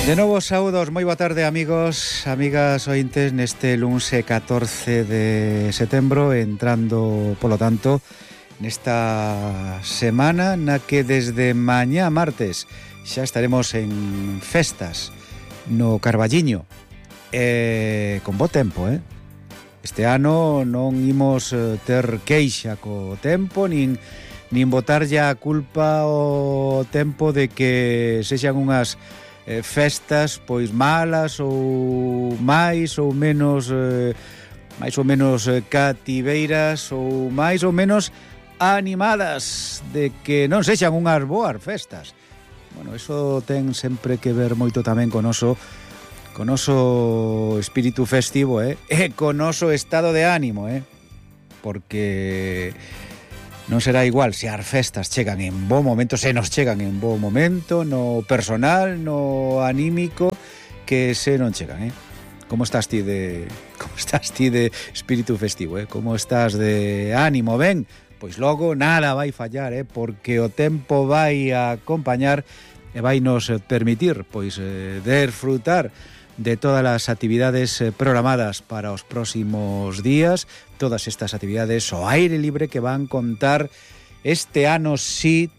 De novo, saúdos, moi boa tarde, amigos, amigas ointes, neste luns 14 de setembro, entrando, polo tanto, nesta semana na que desde mañá martes xa estaremos en festas no Carballiño, con bo tempo, Este ano non imos ter queixa co tempo, nin botarlle a culpa ao tempo de que sexan unhas festas pois malas ou máis ou menos cativeiras ou máis ou menos animadas, de que non sexan unhas boas festas. Bueno, eso ten sempre que ver moito tamén con noso espírito festivo, e con noso estado de ánimo, porque non será igual se as festas chegan en bo momento, se nos chegan en bo momento, no personal, no anímico, que se non chegan, Como estás ti de espírito festivo, Como estás de ánimo, ben? Pois logo nada vai fallar, porque o tempo vai a acompañar e vai nos permitir pois desfrutar de todas as actividades programadas para os próximos días, todas estas actividades ao aire libre que van contar este ano sí,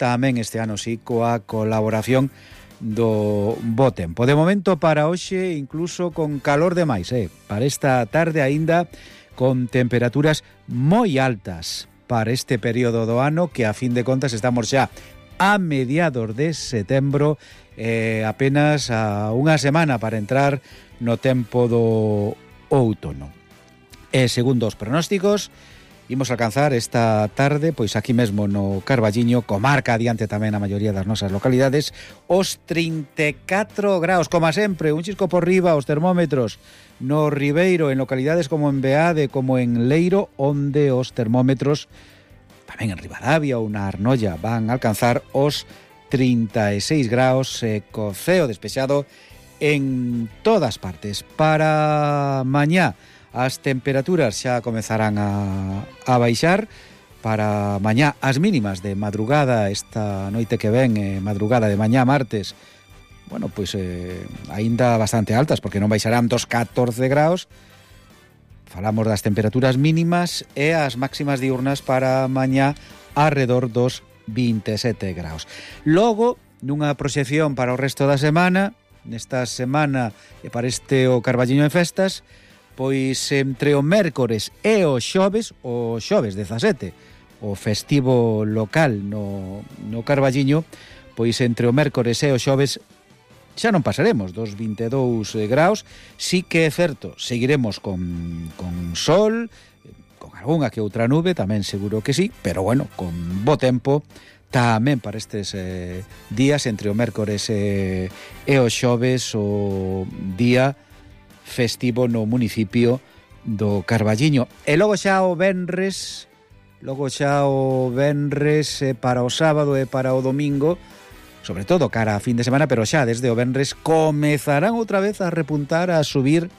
coa colaboración do bo tempo. De momento para hoxe incluso con calor demais, para esta tarde aínda con temperaturas moi altas para este período do ano, que a fin de contas estamos xa a mediados de setembro, apenas a unha semana para entrar no tempo do outono. E segundo os pronósticos, imos alcanzar esta tarde, pois aquí mesmo no Carballiño, comarca adiante tamén a maioría das nosas localidades, os 34 graus, como sempre, un chisco por riba os termómetros no Ribeiro, en localidades como en Beade, como en Leiro, onde os termómetros tamén en Ribadavia ou na Arnolla van a alcanzar os 36 graus, co ceo despexado en todas partes. Para mañá as temperaturas xa comezarán a baixar. Para mañá as mínimas de madrugada, esta noite que ven, madrugada de mañá martes, bueno, pois aínda bastante altas, porque non baixarán dos 14 graus. Falamos das temperaturas mínimas, e as máximas diurnas para mañá arredor dos 27 graus. Logo, nunha proxección para o resto da semana, nesta semana e para este o Carballiño en festas, pois entre o mércores e o xoves 17, o festivo local no Carballiño, pois entre o mércores e o xoves xa non pasaremos dos 22 graus, sí que é certo, seguiremos con sol, con algunha que outra nube, tamén seguro que sí, pero bueno, con bo tempo tamén para estes días entre o mércores e o xoves, o día festivo no municipio do Carballiño. E logo xa o venres para o sábado e para o domingo, sobre todo cara a fin de semana, pero xa desde o venres comezarán outra vez a repuntar, a subir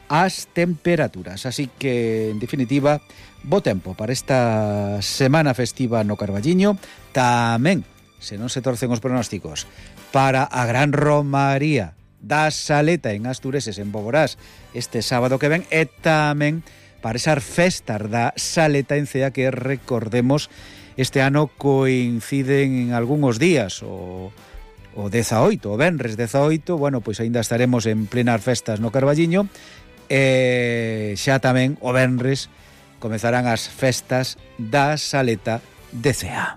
as temperaturas. Así que, en definitiva, bo tempo para esta semana festiva no Carballiño. Tamén, se non se torcen os pronósticos, para a gran romaría da Saleta en Astureses, en Boborás, este sábado que ven, e tamén para esas festas da Saleta en Cea, que recordemos este ano coinciden en algúns días, o 18, o venres 18, bueno, pois aínda estaremos en plenas festas no Carballiño, e xa tamén o venres comezarán as festas da Saleta de Cea.